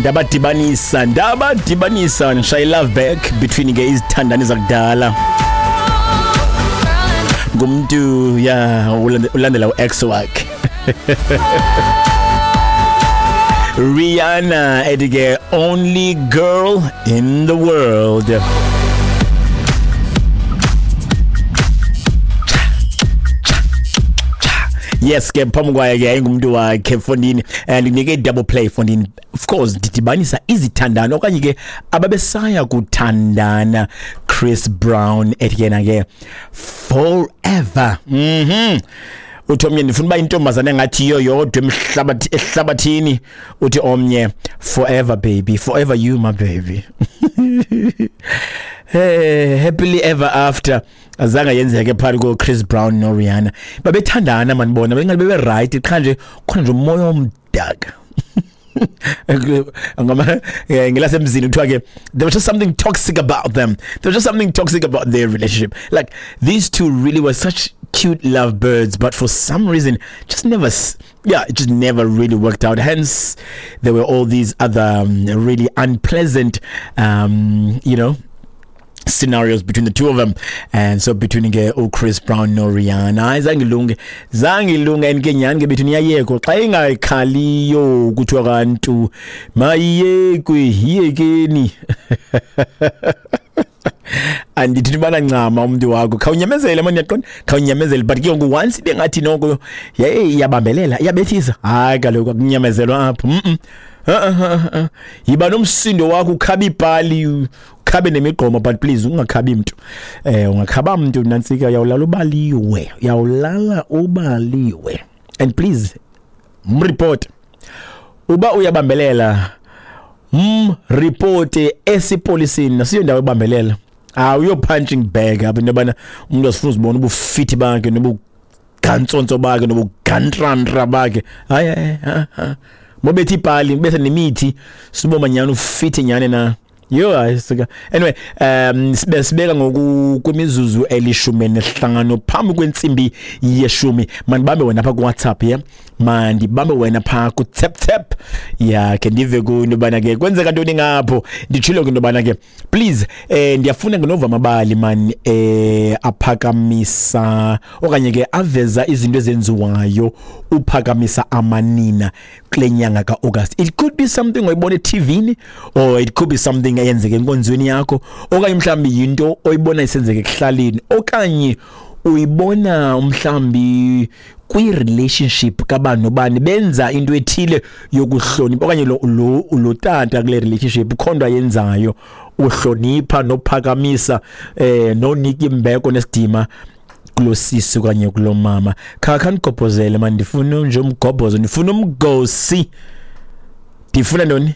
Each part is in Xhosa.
Ndabadibanisa, ndabadibanisa, ndishaye love back between ke izithandani zakudala. Ngumntu ya ulandela u-ex wakhe. Rihanna ethi ke only girl in the world. Yes ke phambi kwaye ke yayingumntu wakhe fondini, and ndinike i-double play fondini. Of course ndidibanisa izithandana okanye ke ababesaya kuthandana. Chris Brown ethi yena ke forever. Uthi omnye ndifuna uba intombazana engathi yiyo yodwa ehlabathini. Uthi omnye forever baby, forever you my baby. Hey, happily ever after. Azange yenzeke phakathi ko Chris Brown no Rihanna. Babethandana manibona, bengabe bebe right qha nje khona nje umoya omdaka. Ngama ngelasemzini kuthiwa ke there was just something toxic about them. There was just something toxic about their relationship. Like these two really were such cute lovebirds, but for some reason just never, yeah, it just never really worked out. Hence there were all these other really unpleasant scenarios between the two of them. And so between ke uChris Brown no Rihanna, hayi zange ilunge, zange ilunge. And ke nyhani ke between iyayekho xa ingakhaliyo kuthiwa kantu mayiyekwe, yiyekeni. Andithi ubana ncama umntu wakho, khawunyamezele mani, uyaqonda, khawunyamezele. But ke ngoku once ibe ngathi noko yeyi iyabambelela, iyabethisa, hayi kaloku akunyamezelwa apho. Yiba nomsindo wakho, ukhabe iipali, ukhabe nemigqomo, but please ungakhabi mntu. Ungakhaba mntu nantsika, uyawulala ubaliwe, uyawulala ubaliwe. And please mreport uba uyabambelela, mreporte esipolisini. Nasiyo indawo yobambelela, awuyo punching bag apha. Into yobana umntu asifuna uzibona ubufithi bakhe nobugantsonso bakhe nobugantrantra bakhe. Hayi, hayi, hayi, mobethe iipali, ubethe nemithi, siboma nyhani ufithi nyhani na. Yho, hayi suka. Anyway, sibeka ngoku kwimizuzu 15 phambi kwentsimbi 10. Mandibambe wena pha kuWhatsApp, yeah? Mandibambe wena pha ku-tap tap. Ya, ke ndive ku into yobana ke kwenzeka ntoni ngapho. Nditshilo ke into yobana ke please, ndiyafuna ke nova amabali man, aphakamisa okanye ke aveza izinto ezenziwayo uphakamisa amanina kule nyanga ka-August. It could be something oyibona e-T V-ni, or it could be something eyenzeka enkonzweni yakho, okanye mhlawumbi yinto oyibona isenzeka ekuhlaleni, okanye uyibona mhlawumbi kwi-relationship kabani nobani benza into ethile yokuhlonipha, okanye lo tata kule relationship ukhona into ayenzayo uhlonipha nophakamisa nonika imbeko nesidima kulo sisi okanye kulo mama. Khandigobhozele man, ndifuna nje umgobhozo, ndifuna umgosi, ndifuna ntoni?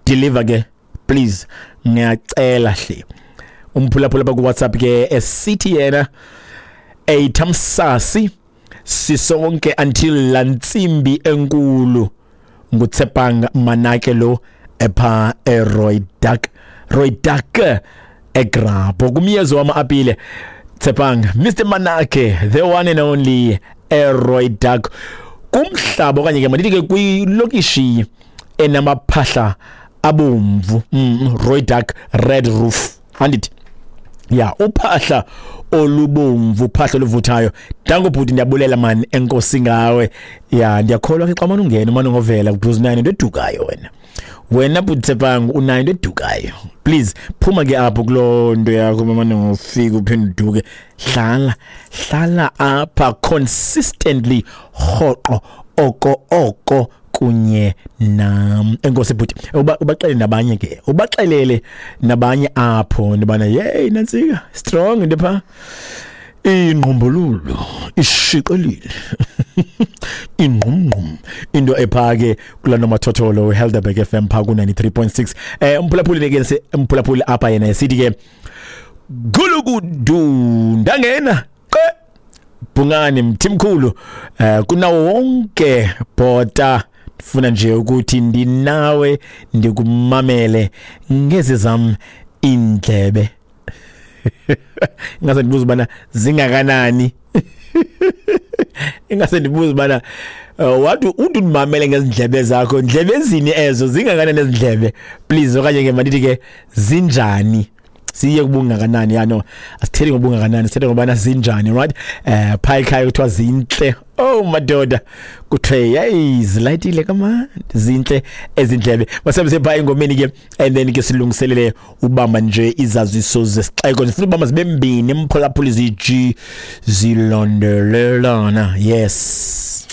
Deliver ke please, ngiyacela hle. Umphulaphula apha kuWhatsApp ke esithi yena eyithamsasi sisonke until lantsimbi enkulu. Ngutsepang Manake lo epha eRoydak, Roydak eGrabho kumyezo wama-apile. Tsepang, Mr Manake, the one and only eRoydak, kumhlaba okanye ke mandithi ke kwilokishi enamaphahla abomvu, Rooidak red roof, andithi ya uphahla olubomvu, uphahla oluvuthayo. Danko bhuti, ndiyabulela man, enkosi ngawe. Ya, ndiyakholwa ke xa mane ungena umane ngovela because unayo into edukayo wena. Wena bhuti Tsepang unayo into edukayo. Please phuma ke apho kuloo nto yakho mane ngofika uphinde uduke. Hlala, hlala apha consistently, rhoqo, oko oko kunye nam. Enkosi bhuti, ubaxelele nabanye ke, ubaxelele nabanye apho ndibana yeyi nantsika strong into pha. Ingqumbululu ishiqelile ingqumngqum into epha ke kula nomathotholo Helderberg FM pha ku 93.6. Umphulaphuli ke umphulaphuli apha yena esithi ke gulukudu ndangena qe bhungane mthimkhulu, kunawo wonke bhota, ndifuna nje ukuthi ndinawe ndikumamele ngezi zam iindlebe. Ingase ndibuze ubana zingakanani. Ingase ndibuze ubana wathi uthi undimamele ngezindlebe zakho, ndlebe zini ezo, zingakanani ezindlebe, please? Okanye ke mandithi ke zinjani, siye kubungakanani? Ya, no, asithethi ngobungakanani, sithethe ngobana zinjani, right? Phaa ekhaya kuthiwa zintle. Oh madoda, kuthiwe yeyi, zilayitile kamandi, zintle ezindlebe. Masihambise phaa engomeni ke, and then ke silungiselele ubamba nje izaziso zesixeko. Ndifuna ubamba zibe mbini, mphulaphuli, ziji zilandelelana. Yes,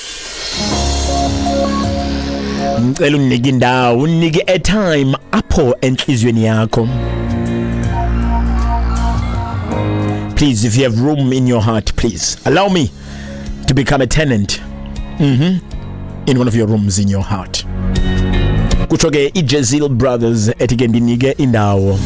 ngicela undinike indawo, undinike airtime apho entliziyweni yakho. Please, if you have room in your heart, please allow me to become a tenant in one of your rooms in your heart. Kutsho ke iJezil Brothers ethi ke ndinike indawo.